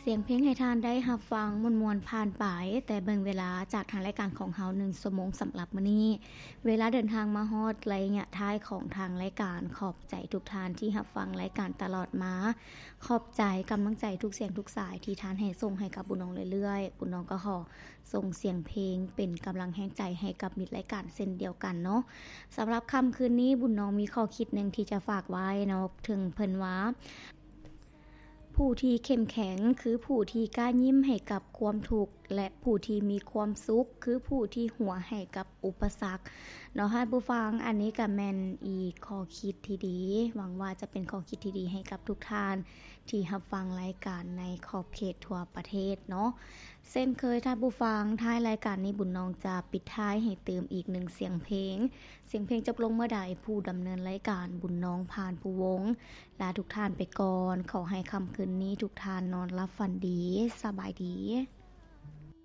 ສຽງເພງໃຫ້ທ່ານໄດ້ຮັບຟັງມ່ວນໆຜ່ານໄປ, ແຕ່ເບິ່ງເວລາຈາກທາງລາຍການຂອງເຮົາໜຶ່ງຊົ່ວໂມງສຳລັບມື້ນີ້. ເວລາເດີນທາງມາຮອດໄລຍະທ້າຍຂອງທາງລາຍການ. ຂອບໃຈທຸກທ່ານທີ່ຮັບຟັງລາຍການຕະຫຼອດມາ. ຂອບໃຈກຳລັງໃຈທຸກສຽງທຸກສາຍທີ່ທ່ານໃຫ້ສົ່ງໃຫ້ກັບບຸນນ້ອງເລື້ອຍໆ. ບຸນນ້ອງກໍຂໍສົ່ງສຽງເພງເປັນກຳລັງແຮງໃຈໃຫ້ກັບມິດລາຍການເຊັ່ນດຽວກັນເນາະ. ສຳລັບຄ່ຳຄືນນີ້ ບຸນນ້ອງມີຂໍ້ຄິດໜຶ່ງທີ່ຈະຝາກໄວ້ເນາະ, ເຖິງເພິ່ນວ່າ ຜູ້ທີ່ເຂັ້ມແຂງຄືຜູ້ທີ່ກ້າຍິ້ມໃຫ້ກັບຄວາມທຸກ ແລະ ຜູ້ທີ່ມີຄວາມສຸກຄືຜູ້ທີ່ຫົວໃຫ້ກັບອຸປະສັກເນາະທ່ານຜູ້ຟັງ. ອັນນີ້ກໍແມ່ນອີກຂໍ້ຄິດທີ່ດີ, ຫວັງວ່າຈະເປັນຂໍ້ຄິດທີ່ດີໃຫ້ກັບທຸກທ່ານທີ່ຮັບຟັງລາຍການໃນຂອບເຂດທົ່ວປະເທດເນາະ. ເຊັ່ນເຄີຍທ່ານຜູ້ຟັງ, ທ້າຍລາຍການນີ້ບຸນນ້ອງຈະປິດທ້າຍໃຫ້ຕື່ມອີກໜຶ່ງສຽງເພງ. ສຽງເພງຈົບລົງເມື່ອໃດ, ຜູ້ດຳເນີນລາຍການບຸນນ້ອງ ພານພູວົງ ລາທຸກທ່ານໄປກ່ອນ. ຂໍໃຫ້ຄ່ຳຄືນນີ້ທຸກທ່ານນອນຫຼັບຝັນດີ. ສະບາຍດີ.